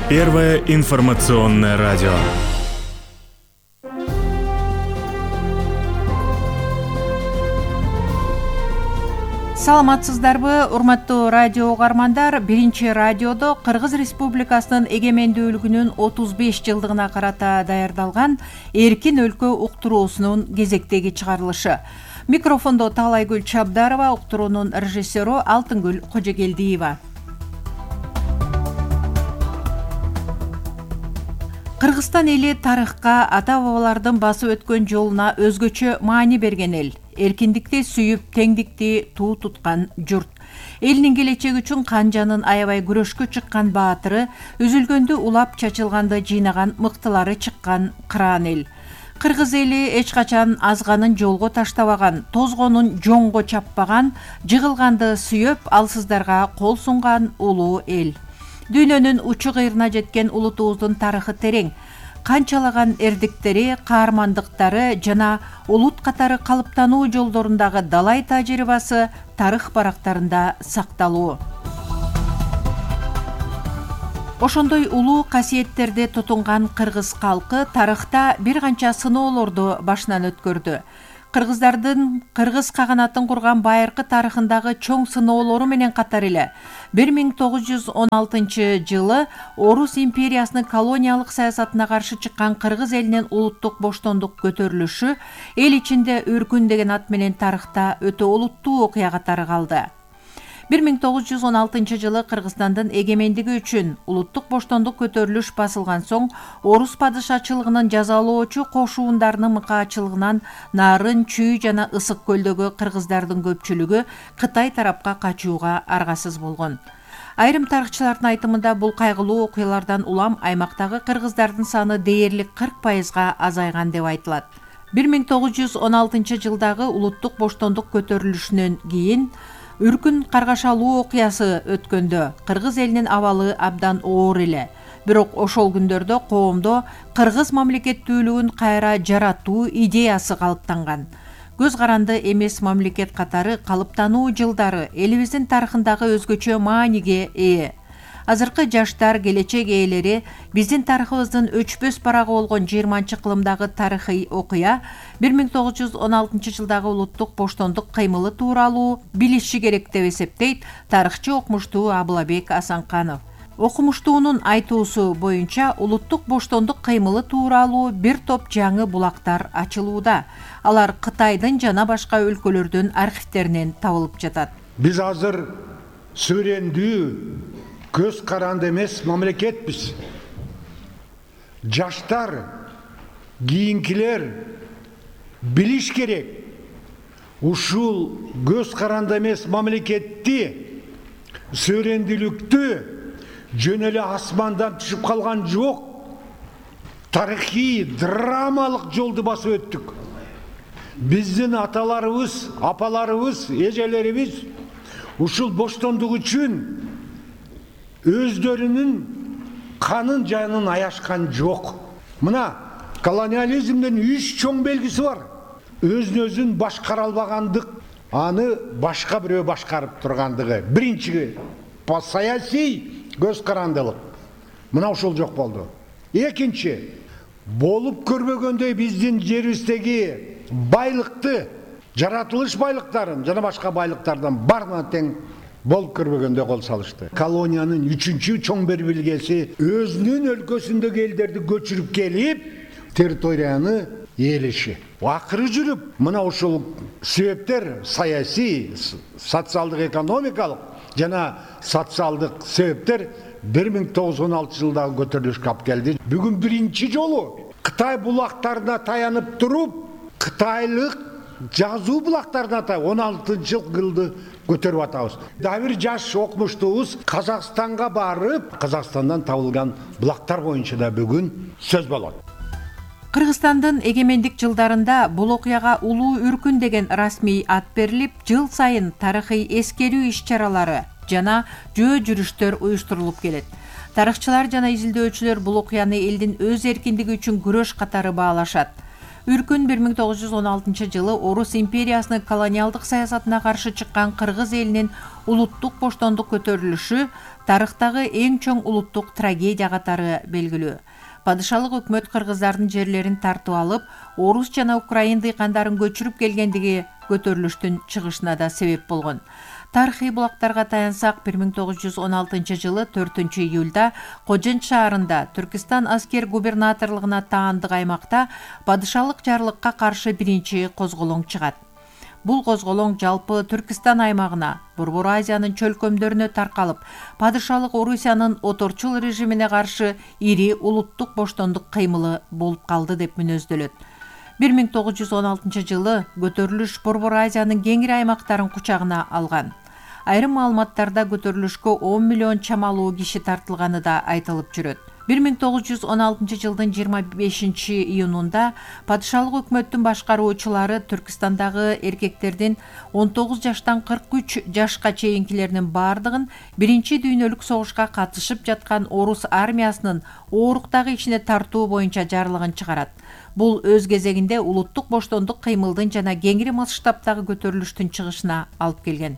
Первое информационное радио. Саламатсыздарбы, урматтуу радио угармандар. Биринчи радиодо Кыргыз Республикасынын эгемендүүлүгүнүн 35 жылдыгына карата даярдалган Эркин өлкө уктуруусунун кезектеги чыгарылышы. Микрофондо Таалайгүл Чабдарова, уктуруунун режиссеру Алтынгүл Кожогелдиева. Кыргызстан эли тарыхка, ата-бабалардын басып өткөн жолуна өзгөчө маани берген эл. Эркиндикти сүйүп, теңдикти туу туткан журт. Элинин келечеги үчүн кан жанын аябай күрөшкө чыккан баатыры, үзүлгөндү улап, чачылганды жыйнаган мыктылары чыккан кыраан эл. Кыргыз эли эч качан азганын жолго таштабаган, тозгонун жоңго чаппаган, жыгылганды сүйөп, алсыздарга кол сунган улуу эл. Дүйнөнүн учу кыйрына жеткен улутубуздун тарыхы терең. Канчалаган эрдиктери, каармандыктары жана улут катары калыптануу жолдорундагы далай тажрыйбасы тарых барактарында сакталуу. Ошондой улуу касиеттерди тутунган кыргыз калкы тарыхта бир канча сыноолорду башынан өткөрдү. Кыргыздардын кыргыз каганатын курган байыркы тарыхындагы чоң сыноолору менен катар эле 1916 жылы Орус империясынын колониялык саясатына каршы чыккан кыргыз элинин улуттук боштондук көтөрүлүшү эл ичинде Өркүн деген ат менен тарыхта өтө олуттуу окуя катары калды. 1916 жылы Кыргызстандын эгемендиги үчүн улуттук боштондук көтөрүлүш басылган соң Орус падышачылыгынын жазалоочу кошуундарынын мыкаачылыгынан Нарын, Чүй жана Ысык көлдөгү кыргыздардын көпчүлүгү Кытай тарапка качууга аргасыз болгон. Айрым тарыхчылардын айтымында бул кайгылуу окуялардан улам аймактагы кыргыздардын саны дээрлик 40%га азайган деп айтылат. 1916 жылдагы улуттук боштондук көтөрүлүшүнөн кийин Үркүн каргашалуу окуясы өткөндө кыргыз элинин абалы абдан оор эле. Бирок ошол күндөрдө коомдо кыргыз мамлекеттүүлүгүн кайра жаратуу идеясы калыптанган. Көз каранды эмес мамлекет катары калыптануу жылдары элибиздин тарыхындагы өзгөчө мааниге ээ. Азыркы жаштар, келечек ээлери биздин тарыхыбыздын өчпөс барагы болгон 20-кылымдагы тарыхый окуя 1916 жылдагы улуттук боштондук кыймылы тууралуу билиши керек деп эсептейт тарыхчы окумуштуу Абылабек Асанканов. Окумуштуунун айтуусу боюнча улуттук боштондук кыймылы тууралуу бир топ жаңы булактар ачылууда. Алар Кытайдын жана башка өлкөлөрдүн архивтеринен табылып жатат. Биз азыр сүрөндүү көз каранды эмес мамлекетпиз. Жаштар, кийинкилер билиш керек. Ушул көз каранды эмес мамлекетти, сүрөндүүлүктү жөн эле асмандан түшүп калган жок. Тарыхый, драмалык жолду басып өттүк. Биздин аталарыбыз, апаларыбыз, эжелерибиз ушул боштондук үчүн өздөрүнүн канын жанын аяшкан жок. Мына колониализмдин 3 чоң белгиси бар. Өзүн башкара албагандык, аны башка бирөө башкарып тургандыгы. Биринчи саясий көз карандылык. Мына ушул жок болду. Экинчи, болуп көрбөгөндөй биздин жерибиздеги байлыкты, жаратылыш байлыктарын жана башка байлыктардан баарына тең болуп көрбөгөндө кол салышты. Колониянын 3-чү чоң бир белгиси өзүнүн өлкөсүндөгү элдерди көчүрүп келип, территорияны ээлеши. Акыры жүрүп, мына ушул себептер саясий, социалдык, экономикалык жана социалдык себептер 1916 жылдагы көтөрүлүшкө алып келди. Бүгүн биринчи жолу Кытай булактарына таянып туруп, кытайлык жазуу булактарына 16-жылды көтөрүп атабыз. Дагы бир жаш окумуштуубуз Казакстанга барып, Казакстандан табылган булактар боюнча да бүгүн сөз болот. Кыргызстандын эгемендик жылдарында бул окуяга Улуу Үркүн деген расмий ат берилип, жыл сайын тарыхый эскерүү иш-чаралары жана жөө жүрүштөр уюштурулуп келет. Тарыхчылар жана изилдөөчүлөр бул окуяны элдин өз эркиндиги үчүн күрөш катары баалашат. Үркүн 1916-жылы Орус империясынын колониалдык саясатына каршы чыккан кыргыз элинин улуттук боштондук көтөрүлүшү тарыхтагы эң чоң улуттук трагедия катары белгилүү. Падышалык өкмөт кыргыздардын жерлерин тартып алып, орус жана украин дыйкандарын көчүрүп келгендиги көтөрүлүштүн чыгышына да себеп болгон. Тарыхый булактарга таянсак, 1916-жылы 4-июлда Кожент шаарында Түркистан аскер губернаторлугуна таандык аймакта падышалык жарлыкка каршы биринчи козголоң чыгат. Бул козголоң жалпы Түркистан аймагына, Борбор Азиянын чөлкөмдөрүнө таркалып, падышалык Орусиянын оторчул режимине каршы ири улуттук боштондук кыймылы болуп калды деп мүнөздөлөт. 1916-жылы көтөрүлүш Борбор Азиянын кеңири аймактарын кучагына алган. Айрым маалыматтарда көтөрүлүшкө 10 миллион чамалуу киши тартылганы да айтылып жүрөт. 1916-жылдын 25-июнунда падышалык өкмөттүн башкаруучулары Түркистандагы эркектердин 19 жаштан 43 жашка чейинкилеринин бардыгын биринчи дүйнөлүк согушка катышып жаткан орус армиясынын ооруктагы ичине тартуу боюнча жарлыгын чыгарат. Бул өз кезегинде улуттук боштондук кыймылдын жана кеңири масштабтагы көтөрүлүштүн чыгышына алып келген.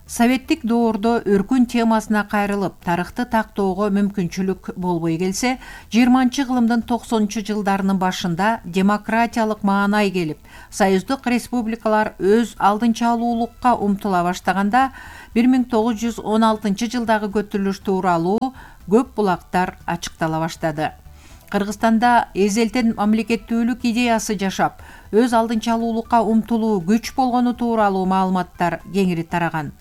Советтик доордо өркүн темасына кайрылып, тарыхты тактоого мүмкүнчүлүк болбой келсе, 20-кылымдын 90-жылдарынын башында демократиялык маанай келип, союздук республикалар өз алдынчалуулукка умтула баштаганда 1916-жылдагы көтөрүлүш тууралуу көп булактар ачыктала баштады. Кыргызстанда эзелтен мамлекеттүүлүк идеясы жашап, өз алдынчалуулукка умтулуу күч болгону тууралуу маалыматтар кеңири тараган.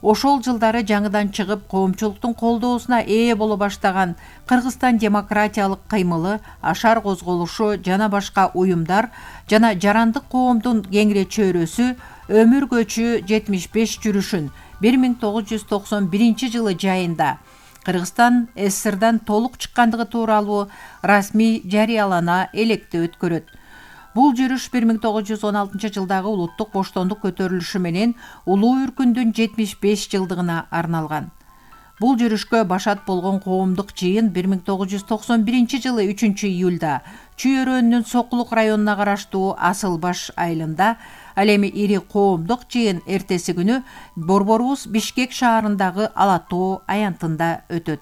Ошол жылдары жаңыдан чыгып, коомчулуктун колдоосуна ээ боло баштаган Кыргызстан демократиялык кыймылы, ашар козголушу жана башка уюмдар жана жарандык коомдун кеңири чөйрөсү өмүр көчү 75 жүрүшүн 1991-жылы жайында Кыргызстан СССРдан толук чыккандыгы тууралуу расмий жарыялана электе өткөрөт. Бул жүрүш 1916-жылдагы улуттук боштондук көтөрүлүшү менен Улуу Үркүндүн 75 жылдыгына арналган. Бул жүрүшкө башат болгон коомдук жыйын 1991-жылы 3-июлда Чүй өрөөнүнүн Сокулук районуна караштуу Асылбаш айылында, ал эми ири коомдук жыйын эртеси күнү Борборубуз Бишкек шаарындагы Ала Тоо аянтында өтөт.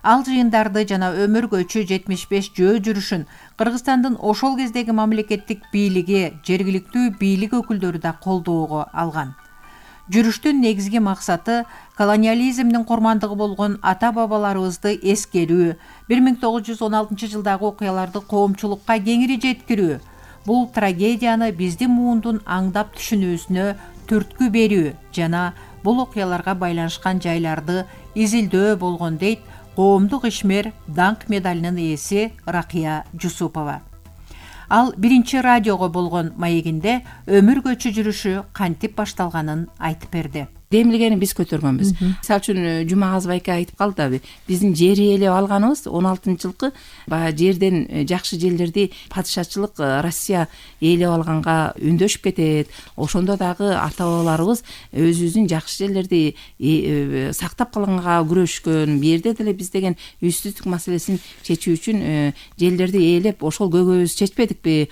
Ал жыйындарды жана өмүр көчү 75 жөө жүрүшүн Кыргызстандын ошол кездеги мамлекеттик бийлиги, жергиликтүү бийлик өкүлдөрү да колдоого алган. Жүрүштүн негизги максаты колониализмдин курмандыгы болгон ата-бабаларыбызды эскерүү, 1916-жылдагы окуяларды коомчулукка кеңири жеткирүү, бул трагедияны биздин муундун аңдап түшүнүүсүнө түрткү берүү жана бул окуяларга байланышкан жайларды изилдөө болгон дейт коомдук ишмер даңк медалынын ээси Ракия Жусупова. Ал биринчи радиого болгон маегинде өмүр көчү жүрүшү кантип башталганын айтып берди. Демилгени биз көтөргөнбүз. Мисалы үчүн Жумагазов айка айтып калды, биздин жер ээлеп алганыбыз 16-жылкы баягы жерден жакшы жерлерди падышачылык Россия ээлеп алганга үндөшүп кетет. Ошондо дагы ата-бабаларыбыз өзүбүздүн жакшы жерлерди сактап калганга күрөшкөн. Бу жерде деле биз деген үстүздүк маселесин чечүү үчүн жерлерди ээлеп ошол көйгөйүбүздү чечпедикпи?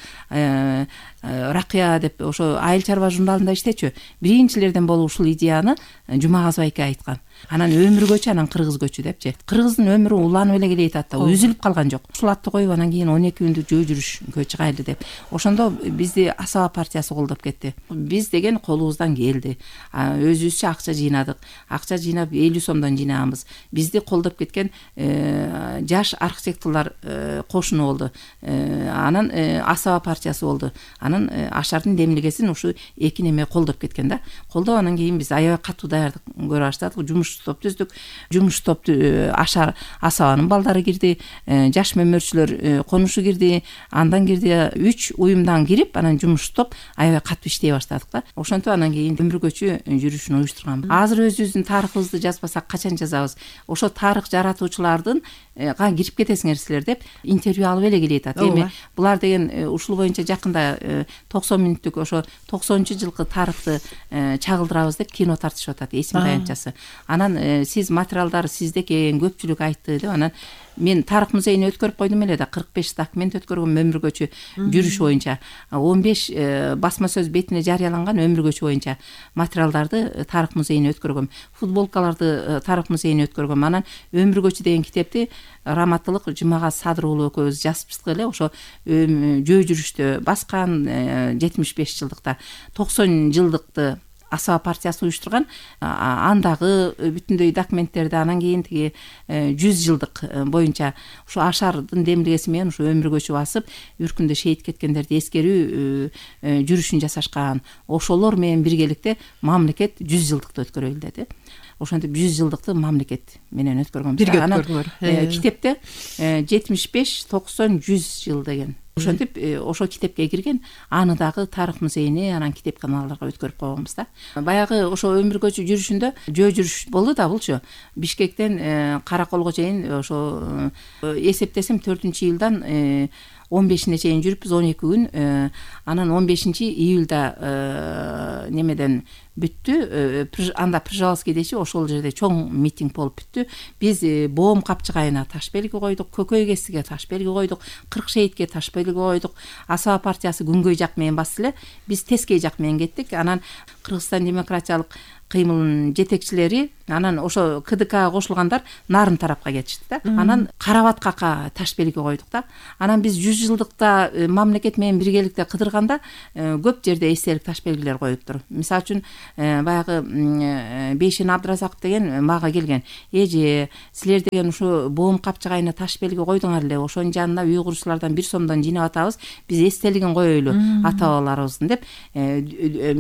Ракия деп ошо айыл чарба журналында иштечү. Биринчилерден болуп ушул идеяны Жумагазов айка айткан. Анан өмүр көчү, анан кыргыз көчү депчи. Кыргыздын өмүрү уланып эле келе жатат да, үзүлүп калган жок. Ушул атты коюп анан кийин 12 күндүк жөө жүрүшкө чыгайлы деп. Ошондо бизди Асаба партиясы колдоп кетти. Биз деген колубуздан келди. Өзүбүзчө акча жыйнадык. Акча жыйнап 50 сомдон жыйнаганбыз. Бизди колдоп кеткен жаш архитекторлор кошуну болду. Анан Асаба партиясы болду. Анан Ашардын демилгесин ушу эки неме колдоп кеткен да. Колдоп анан кийин биз аябай катуу даярдык көрө баштадык. Жумуш топ түздүк. Жумуш топту Ашар Асабанын балдары кирди, жаш мөмөрчүлөр конушу кирди, андан кирди 3 уюмдан кирип, анан жумуш топ аябай катуу иштей баштадык да. Ошентип анан кийин өмүр көчү жүрүшүн уюштурганбыз. Азыр өзүбүздүн тарыхыбызды жазбасак качан жазабыз? Ошо тарых жаратуучулардын кирип кетесиңер силер деп интервью алып эле келе жатат. Эми булар деген ушул боюнча жакында 90 мүнөттүк ошо 90-жылкы тарыхты чагылдырабыз деп кино тартышып атат, эсим таянчасы. Анан Анан сиз материалдар сизде экен, көпчүлүк айтты деп анан мен тарых музейине өткөрүп койдум эле да, 45 документ өткөргөм өмүр көчү жүрүш боюнча. 15 басма сөз бетине жарыяланган өмүр көчү боюнча материалдарды тарых музейине өткөргөм. Футболкаларды тарых музейине өткөргөм. Анан өмүр көчү деген китепти Раматтылык Жумагаз Садыр уулу экөөбүз жазып чыктык эле. Ошо жөө жүрүштө баскан 75 жылдыкта 90 жылдыкты Асаба партиясы уюштурган, андагы бүтүндөй документтерди, анан кийин тиги 100 жылдык боюнча ушу Ашардын демилгеси менен ушу өмүр көчү басып, үркүндө шейит кеткендерди эскерүү жүрүшүн жасашкан. Ошолор менен биргеликте мамлекет 100 жылдыкты өткөрөлү деди. Ошентип 100 жылдыкты мамлекет менен өткөргөн. Бирге өткөрдүлөр. Китепте 75, 90, 100 жыл деген. Ошентип ошо китепке кирген, аны дагы тарых музейине, анан китеп каналдарга өткөрүп койгонбуз да. Баягы ошо өмүр көчү жүрүшүндө жөө жүрүш болду да булчу. Бишкектен Караколго чейин ошо эсептесем 4-июлдан 15-ине чейин жүрүпбүз, 12 күн. Анан 15-июлда немеден бүттү. Анда Пржевальский дечи, ошол жерде чоң митинг болуп бүттү. Биз Боом капчыгайына таш белги койдук, Көкөй кесиге таш белги койдук, 40 шейтке таш белги койдук. Асаба партиясы күнгөй жак менен басты эле, биз тескей жак менен кеттик. Анан Кыргызстан демократиялык кыймылынын жетекчилери, анан ошо КДКга кошулгандар нарын тарапка кетишти да. Анан Карабаткака таш белги койдук да. Анан биз 100 жылдыкта мамлекет менен биргеликте кыдырганда көп жерде эстелик таш белгилер коюптур. Мисалы үчүн баягы Бейшен Абдыразаков деген мага келген. Эже, силер деген ушу Боом капчыгайына таш белги койдуңар эле, ошонун жанына уйгурчулардан 1 сомдон жыйнап атабыз, биз эстелигин коелу ата бабаларыбыздын деп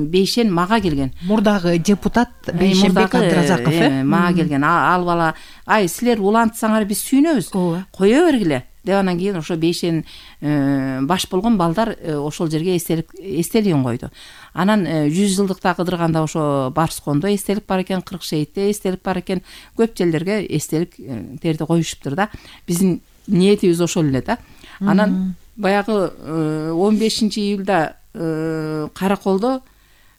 Бейшен мага келген. Мурдагы депутат Бейшенбек Абдыразаков мага келген. Ал бала, ай силер улантсаңар биз сүйүнөбүз, кое бергиле деп. Анан кийин ошо Бейшен баш болгон балдар ошол жерге эстелигин койду. Анан 100 жылдыкта кыдырганда ошо Барскондо эстелик бар экен, 40 шейтте эстелик бар экен, көп жерлерге эстеликтерди коюшуптур да. Биздин ниетибиз ошол эле да. Анан баягы 15-июлда Караколдо,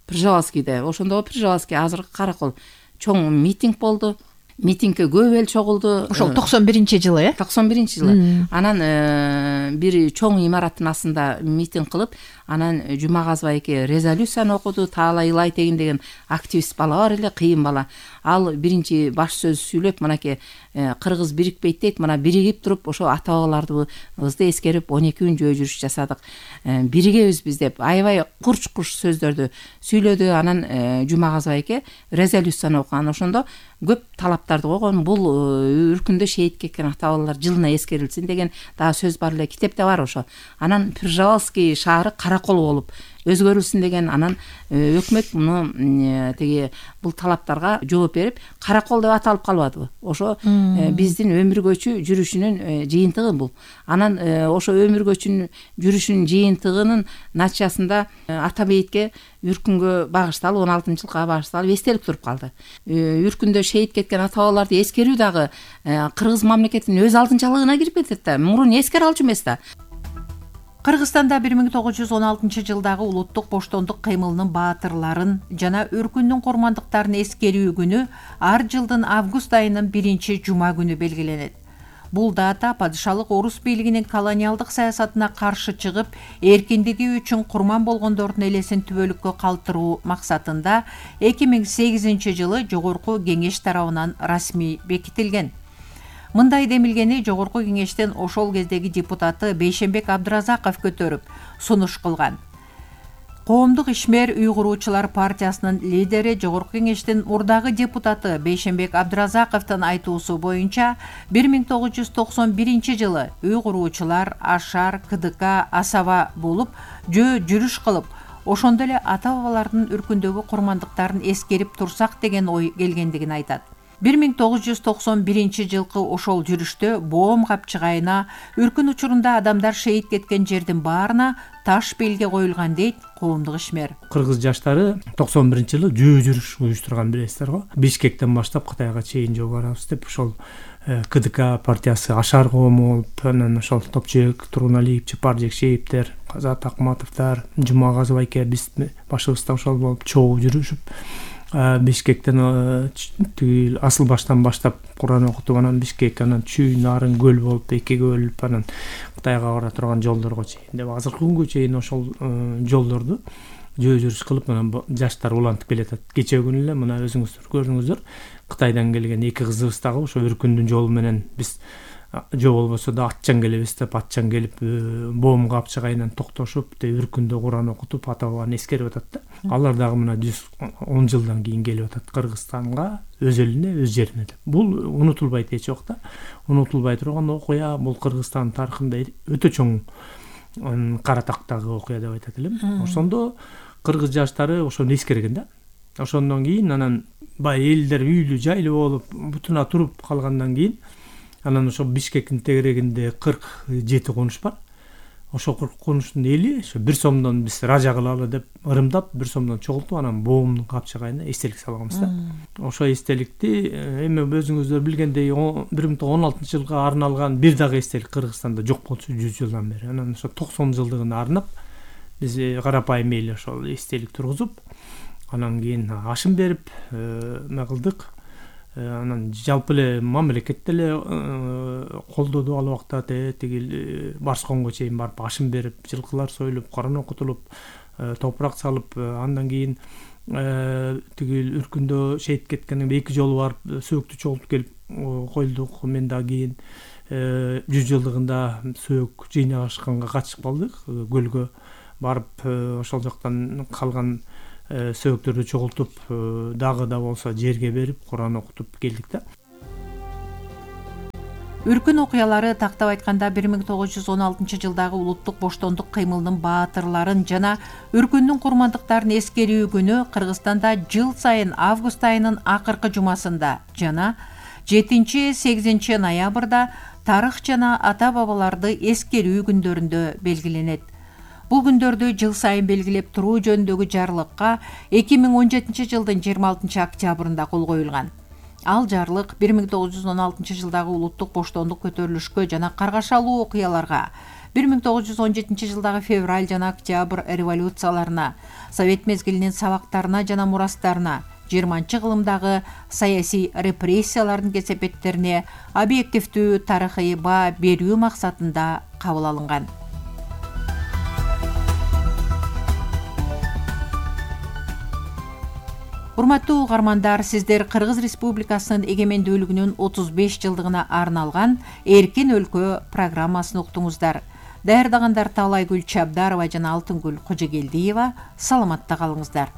Пржевальскийде, ошондо Пржевальский азыркы Каракол чоң митинг болду. Митингке көп эл чогулду. Ошол 91-жылы, 91-жылы. Анан бир чоң имараттын астында митинг кылып, анан Жумагаз байке резолюцияны окуду. Таала Илай Тегин деген активист бала бар эле, кыйын бала. Ал биринчи баш сөз сүйлөп, мынакей Кыргыз бирикпейт дейт, мына биригип туруп ошо ата бабаларыбызды эскерип 12 күн жөө жүрүш жасадык. Биригебиз биз деп аябай курч-курч сөздөрдү сүйлөдү. Анан Жумагаз байке резолюцияны окуган. Ошондо көп талаптарды койгон. Бул үркүндө шейит кеткен ата бабалар жылына эскерилсин деген дагы сөз бар эле, китепте бар ошо. Анан Пржевальский шаары Каракол болуп өзгөрүлсүн деген. Анан өкмөт муну тиги бул талаптарга жооп берип Каракол деп аталып калбадыбы? Ошо биздин өмүр көчү жүрүшүнүн жыйынтыгы бул. Анан ошо өмүр көчүнүн жүрүшүнүн жыйынтыгынын натыйжасында ата бейитке үркүнгө багышталып, 16-жылга багышталып эстелик туруп калды. Үркүндө шейит кеткен ата бабаларды эскерүү дагы Кыргыз мамлекетинин өз алдынчалыгына кирип кетет да. Мурун эскере алчу эмес да. Кыргызстанда 1916-жылдагы улуттук боштондук кыймылынын баатырларын жана өркүндүн курмандыктарын эскерүү күнү ар жылдын август айынын 1-жума күнү белгиленет. Бул дата падышалык орус бийлигинин колониалдык саясатына каршы чыгып, эркиндиги үчүн курман болгондордун элесин түбөлүккө калтыруу максатында 2008-жылы Жогорку Кеңеш тарабынан расмий бекитилген. Мындай демилгени Жогорку Кеңештен ошол кездеги депутаты Бейшенбек Абдыразаков көтөрүп, сунуш кылган. Коомдук ишмер уйгуруучулар партиясынын лидери Жогорку Кеңештин мурдагы депутаты Бейшенбек Абдыразаковдун айтуусу боюнча 1991-жылы уйгуруучулар Ашар, КДК, Асаба болуп жөө жүрүш кылып, ошондо эле ата бабалардын үркүндөгү курмандыктарын эскерип турсак деген ой келгендигин айтат. 1991-жылкы ошол жүрүштө Боом капчыгайына үркүн учурунда адамдар шейит кеткен жердин баарына таш белги коюлган дейт коомдук ишмер. Кыргыз жаштары 91-жылы жөө жүрүш уюштурган билесиздер го. Бишкектен баштап Кытайга чейин жөө барабыз деп ошол КДК партиясы Ашар коому болуп, анан ошол Топчек, Тургуналиев, Чапар Жекшеевдер, Казат Акматовдор, Жумагаз байке биз башыбызда ошол болуп чогуу жүрүшүп, Бишкектен тигил асыл баштан баштап Куран окутуп, анан Бишкек, анан Чүй, Нарын көл болуп, экиге бөлүнүп, анан Кытайга бара турган жолдорго чейин деп азыркы күнгө чейин ошол жолдорду жөө жүрүш кылып, анан жаштар улантып келатат. Кечээ күнү эле мына өзүңүздөр көрдүңүздөр, Кытайдан келген 2 кызыбыз дагы ошо Үркүндүн жолу менен биз жо болбосо да атчан келебиз деп, атчан келип Боом капчыгайынан токтошуп, Үркүндө Куран окутуп, ата бабаны эскерип атат да. Алар дагы мына 110 жылдан кийин келип атат Кыргызстанга, өз элине, өз жерине деп. Бул унутулбайт эч убакта. Унутулбай турган окуя, бул Кыргызстан тарыхында өтө чоң кара тактагы окуя деп айтат элем. Ошондо кыргыз жаштары ошону эскерген да. Ошондон кийин анан бай элдер үйлүү жайлуу болуп, бутуна туруп калгандан кийин анан ошо Бишкектин тегерегинде 47 конуш бар. Ошо 40 конуштун эли ошо 1 сомдон биз ража кылалы деп ырымдап 1 сомдон чогултуп, анан Боомдун капчыгайына эстелик салганбыз да. Ошо эстеликти эми өзүңүздөр билгендей 1916-жылга арналган бир дагы эстелик Кыргызстанда жок болчу 100 жылдан бери. Анан ошо 90 жылдыгына арнап биз карапайым эле ошол эстелик тургузуп, анан кийин ашым берип кылдык. Анан жалпы эле мамлекет деле колдоду ал убакта, тигил Барсконго чейин барып ашым берип, жылкылар союлуп, Куран окутулуп, топурак салып, андан кийин тигил Үркүндө шейит кеткенден 2 жолу барып сөөктү чогултуп келип койлдук. Мен да кийин 100 жылдыгында сөөк жыйнашканга катышып калдык, көлгө барып ошол жактан калган сөөктөрдү чогултуп, дагы да болсо жерге берип, Куран окутуп келдик да. Үркүн окуялары тактап айтканда 1916-жылдагы улуттук боштондук кыймылынын баатырларын жана Үркүндүн курмандыктарын эскерүү күнү Кыргызстанда жыл сайын август айынын акыркы жумасында жана 7-8 ноябрда тарых жана ата бабаларды эскерүү күндөрүндө белгиленет. Бул күндөрдү жыл сайын белгилеп туруу жөнүндөгү жарлыкка 2017 жылдын 26 октябрында кол коюлган. Ал жарлык 1916 жылдагы улуттук боштондук көтөрүлүшкө жана каргашалуу окуяларга, 1917 жылдагы февраль жана октябрь революцияларына, Совет мезгилинин сабактарына жана мурастарына, 20-кылымдагы саясий репрессиялардын кесепеттерине объективдүү тарыхый баа берүү максатында кабыл алынган. Урматтуу угармандар, сиздер Кыргыз Республикасынын эгемендүүлүгүнүн 35 жылдыгына арналган Эркин өлкө программасын уктуңуздар. Даярдагандар Таалайгүл Чабдарова жана Алтынгүл Кожогелдиева. Саламатта калыңыздар.